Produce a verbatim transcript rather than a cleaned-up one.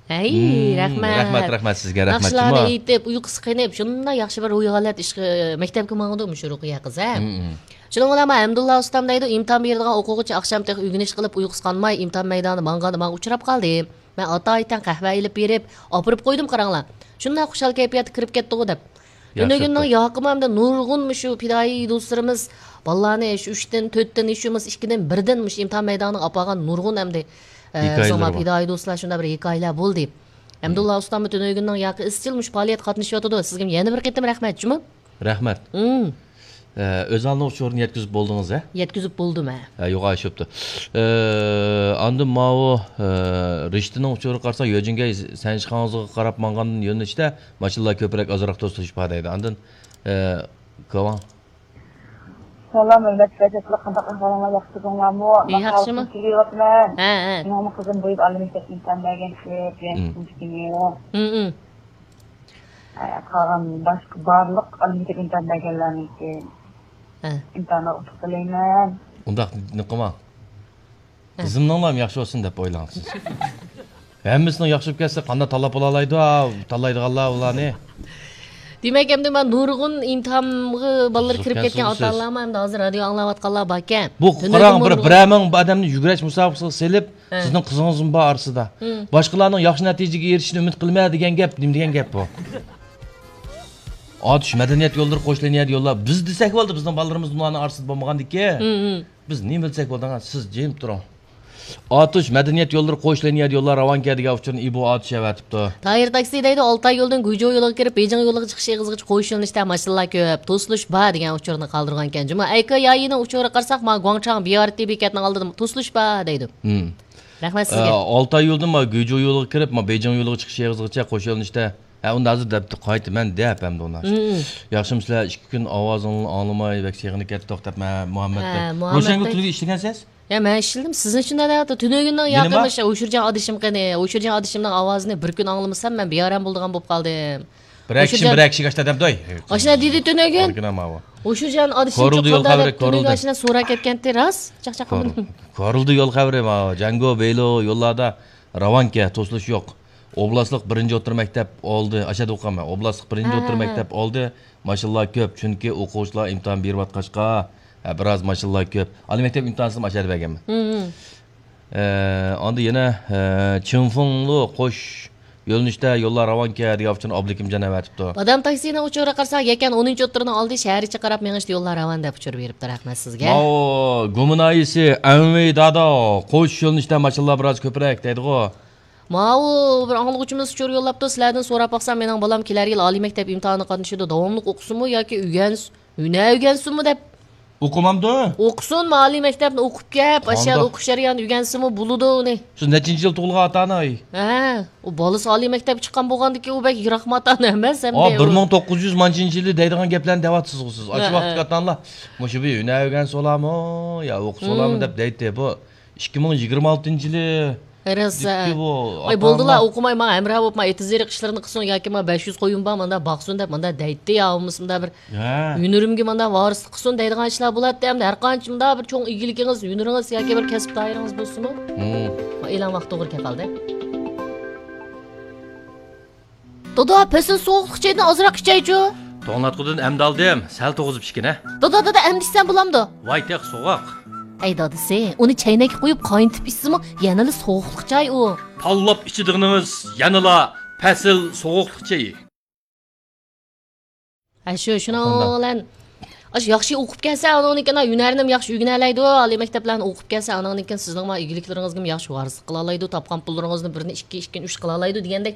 ھەي، مم، رەھمەت. رەھمەت، رەھمەت سىزگە، رەھمەت ناخشىلارنى جۇمۇ. ئېيتىپ، ئۇيقۇسى قېنىپ، شۇنداق ياخشى بىر روھىي ھالەت ئىشقا، مەكتەپكە ماڭىدۇ مۇشۇ رۇقىيە قىز، ھە؟ مم، مم. شۇنىڭ بىلەن مانا ھەمدۇللا ئۇستام دەيدۇ، ئىمتىھان بېرىدىغان ئوقۇغۇچى ئاخشام تېخى ئۆگىنىش قىلىپ، ئۇيقۇسى قانماي، ئىمتىھان مەيدانىدا ماڭغاندا ماڭا ئۇچراپ قالدى. مەن ئاتايىتەن قەھۋە ئېلىپ بېرىپ، ئاپىرىپ قويدۇم، قاراڭلار. شۇنداق خۇشال كەيپىياتتا كىرىپ كەتتىغۇ دەپ. تۈنۈگۈننىڭ ياقىمۇ ئەمدى نۇرغۇن مۇشۇ پىدائىي دوستلىرىمىز بالىلارنى شۇ ئۈچتىن، تۆتتىن، ھېچ بولمىسا ئىككىدىن، بىردىن مۇشۇ ئىمتىھان مەيدانىغا ئاپارغان نۇرغۇن ئەمدى، ئە، ھېكايىلىرى زاما بار. پىدائىي دوستلار شۇنداق بىر ھېكايىلەر بولدى. ھەمدۇللا ئۇستاممۇ تۈنۈگۈننىڭ ياقى ئىزچىل مۇشۇ پائالىيەتكە قاتنىشىۋاتىدۇ. سىزگىمۇ يەنە بىر قېتىم رەھمەت جۇمۇ. رەھمەت. ئە، ئۆزالنىڭ ئۇچۇرىنى يەتكۈزۈپ بولدىڭىز، ھە؟ يەتكۈزۈپ بولدۇم، ھە. ھە، يوغان شوپتۇ. ئە، ئاندىن ماۋۇ، ئە، رىشتىنىڭ ئۇچۇرىغا قارىساق، يۆجىنگەي سەنشىخاڭزىغا قاراپ ماڭغان يۆنىلىشتە ماشىنىلار كۆپرەك، ئازراق توسۇلۇش بار دەيدۇ. ئاندىن، ئە، كاۋاڭ. سالام، ھۆرمەتلىك رەجەپلىك، قانداق ئەھۋالىڭلار، ياخشىدىڭلارمۇ؟ ياخشىمۇ؟ كېلىۋاتىمەن. ھە، ھە. مېنىڭمۇ قىزىم بۇ يىل ئالىي مەكتەپكە ئىمتىھان بەرگەن، يەتتىنچى كۈنى. ھە، ھە. قالغان باشقا بارلىق ئالىي مەكتەپ ئىمتىھان بەرگەنلەرنىڭكى ھە. ئىمتىھانلار ئۇتۇق تىلەيمەن. ئۇنداق نېمە قىلماڭ. ھە. قىزىمنىڭلام ياخشى بولسۇن دەپ ئويلاڭ سىز. ھەممىسىنىڭ ياخشى بولۇپ كەتسە، قانداق تاللاپ بولالايدۇ، ھە، تاللايدىغانلار ئۇلارنى؟ دېمەك، ئەمدى مانا نۇرغۇن ئىمتىھانغا بالىلىرى كىرىپ كەتكەن ئاتا-ئانىلارمۇ ئەمدى ھازىر رادىيو ئاڭلاۋاتقانلار باركەن. بۇ قاراڭ، بىر، بىرەر مىڭ ئادەمنى يۈگۈرۈش مۇسابىقىسىگە سېلىپ، ھە. سىزنىڭ قىزىڭىزمۇ بار ئارىسىدا. ھە. باشقىلارنىڭ ياخشى نەتىجىگە ئېرىشىشىنى ئۈمىد قىلما دېگەن گەپ، نېمە دېگەن گەپ بۇ؟ ئاتۇش مەدەنىيەت يوللىرى، قوش لىنىيە يوللار. بىز دېسەك بولدى، بىزنىڭ بالىلىرىمىز بۇلارنىڭ ئارىسىدا بولمىغاندىكىن. ھە، ھە. بىز نېمە بىلسەك بولىدىغان، سىز جىم تۇرۇڭ. ئاتۇش مەدەنىيەت يوللىرى، قوش لىنىيە يوللار راۋانكەن دېگەن ئۇچۇرنى ئىبو ئاتۇش ئەۋەتىپتۇ. تايىر تاكسى دەيدۇ، ئالتاي يولدىن گۇيجۇ يولىغا كىرىپ، بېيجىڭ يولىغا چىقىش ئېغىزىغىچە قوش يۆنىلىشتە ماشىنىلار كۆپ، توسۇلۇش بار دېگەن ئۇچۇرنى قالدۇرغانىكەن جۇمۇ. ئەيكې يايىنىڭ ئۇچۇرىغا قارىساق، ما گۇاڭچاڭ بىي ئار تى بېكەتنىڭ ئالدىدا توسۇلۇش بار دەيدۇ. ھىم. رەھمەت سىزگە. ئە، ئالتاي يولدىن ما گۇيجۇ يولىغا كىرىپ، ما بېيجىڭ يولىغا چىقىش ئېغىزىغىچە قوش يۆنىلىشتە. ھە، ئۇندا ھازىر دەپتۇ، قايتا مەن دەپ ئەمدى ئۇنى. ھىم. ياخشىمۇ سىلەر؟ ئىككى كۈن ئاۋازىڭلارنى ئاڭلىماي بەك سېغىنىپ كەتتۇق دەپ، مە-، مۇھەممەد ھە، دەپ. مۇھەممەد روشەنگۈل دەپ. تۈرگە ئىشلىگەنسىز؟ يا، مەن ئىشلىدىم. سىزنى شۇنداق دەۋاتىدۇ. تۈنۈگۈننىڭ يەنىما؟ ياقىمىش ئۇشۇرجان ئادىشىم قېنى؟ ئۇشۇرجان ئادىشىمنىڭ ئاۋازىنى بىر كۈن ئاڭلىمىسام، مەن بىئارام بولىدىغان بولۇپ قالدىم. بىرەر كىشى، بىرەر كىشىگە ئاشۇنداق دەمدۇ. ئاشۇنداق دېدى تۈنۈگۈن. ئۇشۇرجان ئادىشىم كورۇلدى يول خەۋىرى، كورۇلدى. ئاشۇنداق سوراپ كەتكەنتى، راست؟ چاقچاق قىلدىم. كورۇلدى يول خەۋىرى، ما، جەڭگو، بېيلو يوللاردا راۋانكەن، توسۇلۇش يوق. ئوبلاستلىق بىرىنچى ئوتتۇرا مەكتەپ ئالدى، ئاشۇ يەردە ئوقۇغانمەن. ئوبلاستلىق بىرىنچى ھە، ئوتتۇرا ھە، ھە. مەكتەپ ئالدى، ماشىنىلار كۆپ، چۈنكى ئوقۇغۇچىلار ئىمتىھان بېرىۋاتقاچقا، ھە، بىراز ماشىنىلار كۆپ. ئالىي مەكتەپ ئىمتىھانىنى ئاشۇ يەردە بەرگەنمەن. ھىم، ھىم. ئە، ئاندىن يەنە، ئە، چىڭفېڭلۇ قوش يۆنىلىشتە يوللار راۋانكەن دېگەن ئۇچۇرنى ئابلىكىمجان ئەۋەتىپتۇ. بادام تاكسىنىڭ ئۇچۇرىغا قارىساق، يەكەن ئونىنچى ئوتتۇرىنىڭ ئالدى شەھەرچە قاراپ مېڭىشتە يوللار راۋان دەپ ئۇچۇر بېرىپتۇ. رەھمەت سىزگە. ماۋۇ گۇمىنايىسى ئەنۋى دادا قوش يۆنىلىشتە ماشىنىلار بىراز كۆپرەك دەيدىغۇ. ماۋۇ بىر ئاڭلىغۇچىمىز ئۇچۇر يوللاپتۇ، سىلەردىن سوراپ باقسام، مېنىڭ بالام كېلەر يىل ئالىي مەكتەپ ئىمتىھانىغا قاتنىشىدۇ، داۋاملىق ئوقۇسۇنمۇ ياكى ئۆگەنس-، ھۈنەر ئۆگەنسۇنمۇ دەپ. ئوقۇمامدۇ؟ ئوقۇسۇنمۇ، ئالىي مەكتەپنى ئوقۇپ كەپ، ئاشۇ يەردە ئوقۇش جەريانىدا ئۆگەنسىمۇ بولىدۇ ئۇنى. سىز نەچچىنچى يىل تۇغۇلغان ئاتا-ئانا؟ ھە، ئۇ بالىسى ئالىي مەكتەپكە چىققان بولغاندىكىن ئۇ بەك يىراقما ئاتا-ئانا ئەمەس ئەمدى. بىر مىڭ توققۇز يۈز مانچىنچى يىلى دەيدىغان گەپلەرنى دەۋاتىسىزغۇ سىز. ئاشۇ ھە، ۋاقىتتىكى ھە. ئاتا-ئانىلار مۇشۇ بىر ھۈنەر ئۆگەنسە بولامۇ يا ئوقۇسا بولامۇ دەپ دەيتتى. بۇ ئىككى مىڭ يىگىرمە ئالتىنچى يىلى. راست، ھە. ۋاي، بولدىلا، ئوقۇماي، ماڭا ھەمراھ بولۇپ، ماڭا ئېتىز ئېرىق ئىشلىرىنى قىلسۇن ياكى ماڭا بەش يۈز قويۇم بار، مانداق باقسۇن دەپ، مانداق دەيتتى يا، بولمىسا مۇنداق بىر ھە. ھۈنىرىمگە مانداق ۋارىسلىق قىلسۇن دەيدىغان ئىشلار بولاتتى. ئەمدى ھەر قانچە مۇنداق بىر چوڭ ئىگىلىكىڭىز، ھۈنىرىڭىز ياكى بىر كەسىپ دائىرىڭىز بولسىمۇ. ھىم. ئېلان ۋاقتى توغرا كېلىپ قالدى. دادا، پەسىل سوغۇقلۇق چايدىن ئازراق ئىچەيچۇ. توڭلاتقۇدىن ئەمدى ئالدىم، سەل توغۇزۇپ ئىچكىنە. دادا، دادا، ئەمدى ئىچسەم بولامدۇ؟ ۋاي، تېخى سوغۇق. ئەي دادىسى، ئۇنى چەينەككە قۇيۇپ قاينىتىپ ئىچسىمۇ يەنىلا سوغۇقلۇق چاي ئۇ. تاللاپ ئىچىدىغىنىڭىز يەنىلا پەسىل سوغۇقلۇق چېيى. ھە، شۇ، شۇنىڭ بىلەن ئاشۇ ياخشى ئوقۇپ كەلسە، ئانىڭدىن كېيىن ھۈنەرنىمۇ ياخشى ئۆگىنەلەيدۇ. ئالىي مەكتەپلەرنى ئوقۇپ كەلسە، ئانىڭدىن كېيىن سىزنىڭ مانا ئىگىلىكلىرىڭىزگىمۇ ياخشى ۋارىسلىق قىلالايدۇ. تاپقان پۇللىرىڭىزنى بىرنى ئىككى، ئىككىنى ئۈچ قىلالايدۇ دېگەندەك،